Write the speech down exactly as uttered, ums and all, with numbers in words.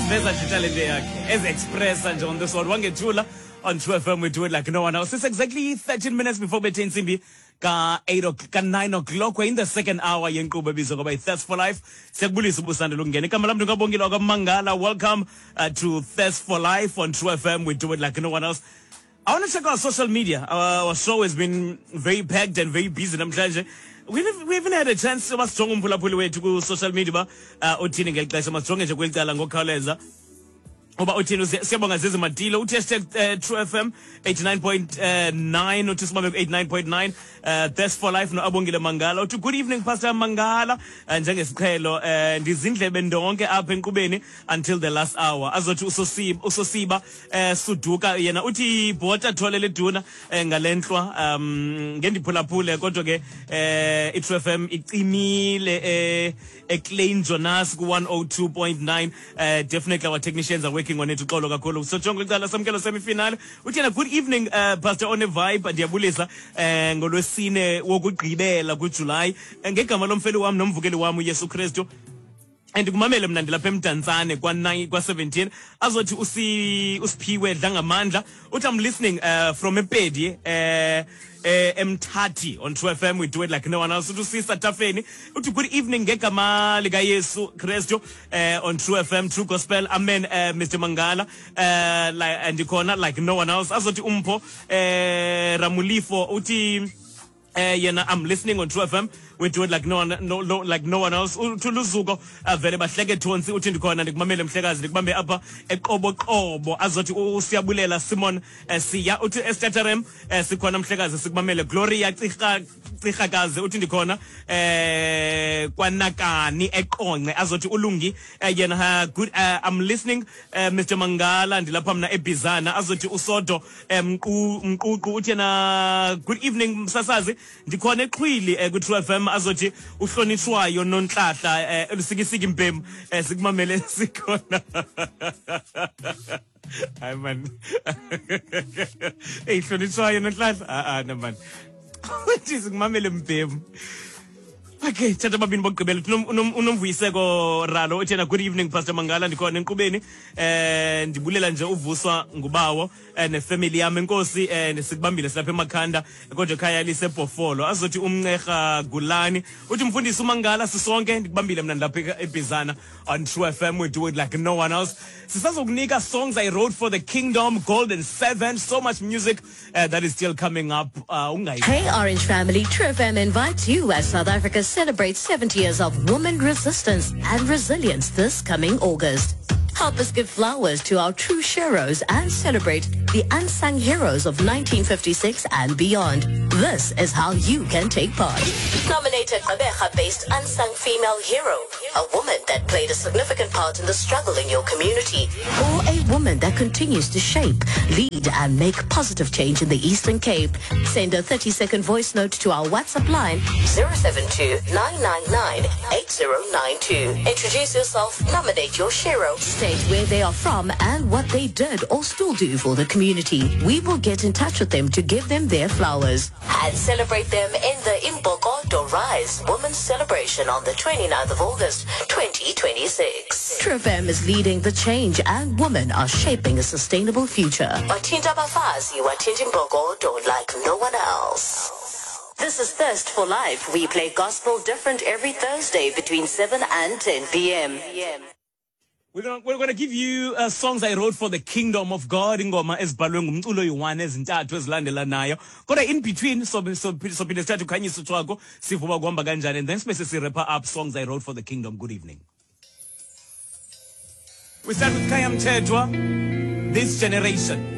Eziveza nje italente yakhe, ezi-expressa nje on this one. Wangethula on True F M, we do it like no one else. It's exactly thirteen minutes before bethe intsimbi ka-eight, ka-nine o'clock. We're in the second hour yenkqubo ebizwa ngoba yi-Thirst for Life. Siyakubulisa ubusandela ukungena. Igama lam ndingabongile wakwaMangala. Welcome uh, to Thirst for Life on True F M. We do it like no one else. I want to check our social media. Our, our show has been very packed and very busy namhlanje. We haven't, we haven't had a chance yoba sijonge umphulaphuli wethu ku-social media uba uh, uthini ngeli xesha. Masijonge nje kweli cala ngokukhawuleza uba uthini. Siyabonga Zizi Matilo uthi hashtag uh, True F M eighty-nine point nine, uthi simame ku eighty-nine point nine. uh, Thirst for Life no-Abongile Mangala uthi good evening Pastor Mangala, uh, njengesiqhelo uh, ndizindlebe ndonke apha enkqubeni until the last hour. Azothi usosiba, usosiba uh, Suduka yena uthi bhota thole leduna uh, ngalenhlwa um ngendiphulaphule kodwa ke uh, i-True F M icimile uh, eClean Jonas ku one oh two point nine. Uh, definitely our technicians are working on it. Uxolo kakhulu. So jonge icala samkelo semifinal uthi yena good evening uh, Pastor on a vibe, ndiyabulisa uh, ngolwesine wokugqibela kuJuly ngegama lomfeli wami nomvukeli wami uYesu Kristu. And kumamele mna ndilapha eMdantsane kwa nine kwa seventeen. Azothi usi usiphiwe Dlangamandla uthi I'm listening uh, from Epedi uh, uh, Mthathi on True F M, we do it like no one else. Uthi usisa Tafeni uthi good evening ngegama lika Yesu Kristu uh, on True F M, True Gospel, amen. uh, Mister Mangala uh, like, and ikhona like no one else. Azothi umpho uh, Ramulifo uthi Uh, yena I'm listening on True F M, we do it like no one, no, no, like no one else. Uthi Luzuko vele bahleke thonsi uthi ndikhona ndikumamele mhlekazi ndikubambe apha eqoboqobo. Azothi usiyabulela Simon uh, Siya uthi Estaterem uh, sikhona mhlekazi sikumamele. Gloria Cirha Cirhakazi uthi ndikhona eh kwanakani eqonce. Azothi ulungi uh, yena good uh, I'm listening uh, Mister Mangala ndilapha mna eBizana. Azothi usodo mqu mququ uthi yena good evening msasazi ndikhona eqhwili eh, ku True F M. Azothi uhlonishwayo nonhlahla elusikisiki mbemu eh, sikumamele sikhona. Hayi man, hey hlonishwayo nonhlahla ah ah no man, uthi sikumamele mbemu. Okay, thatha babini bokugqibela. Unomvuyiseko Ralo uthi yena good evening Pastor Mangala ndikhona enkqubeni eh ndibulela nje uvuswa ngubawo eh, nefamily yami enkosi eh, sikubambile silapha emakhanda kodwa ekhaya lisebhofolo. Azothi umncerha Gulani uthi mfundisi uMangala sisonke ndikubambile mina ndilapha eBizana on True F M, we do it like no one else. Sisazokunika songs I wrote for the kingdom, Golden Seven, so much music uh, that is still coming up. Uh, hey Orange family, True F M invites you as South Africa celebrates seventy years of women resistance and resilience this coming August. Help us give flowers to our true heroes and celebrate the unsung heroes of nineteen fifty-six and beyond. This is how you can take part. Nominate a Gqeberha-based unsung female hero, a woman that played a significant part in the struggle in your community, or a woman that continues to shape, lead and make positive change in the Eastern Cape. Send a thirty-second voice note to our WhatsApp line zero seven two, nine nine nine, eight zero nine two. Introduce yourself, nominate your hero, state where they are from and what they did or still do for the community. We will get in touch with them to give them their flowers and celebrate them in the Imbokodo Rise Women's Celebration on the twenty-ninth of August, twenty twenty-six. True F M is leading the change and women are shaping a sustainable future. Wathinta abafazi, wathinta imbokodo like no one else. This is Thirst for Life. We play gospel different every Thursday between seven and ten p m We're gonna, we're gonna give you uh, songs I wrote for the kingdom of God. Ingoma ezibhalwe ngumculo oyi-one ezintathu ezilandelanayo. Kodwa in between so so sophinde sithathe ukhanyiso twakho sivuba kuhamba kanjani, and then sibe sesi-wrap up songs I wrote for the kingdom. Good evening. We start with Khaya Mthethwa, This Generation.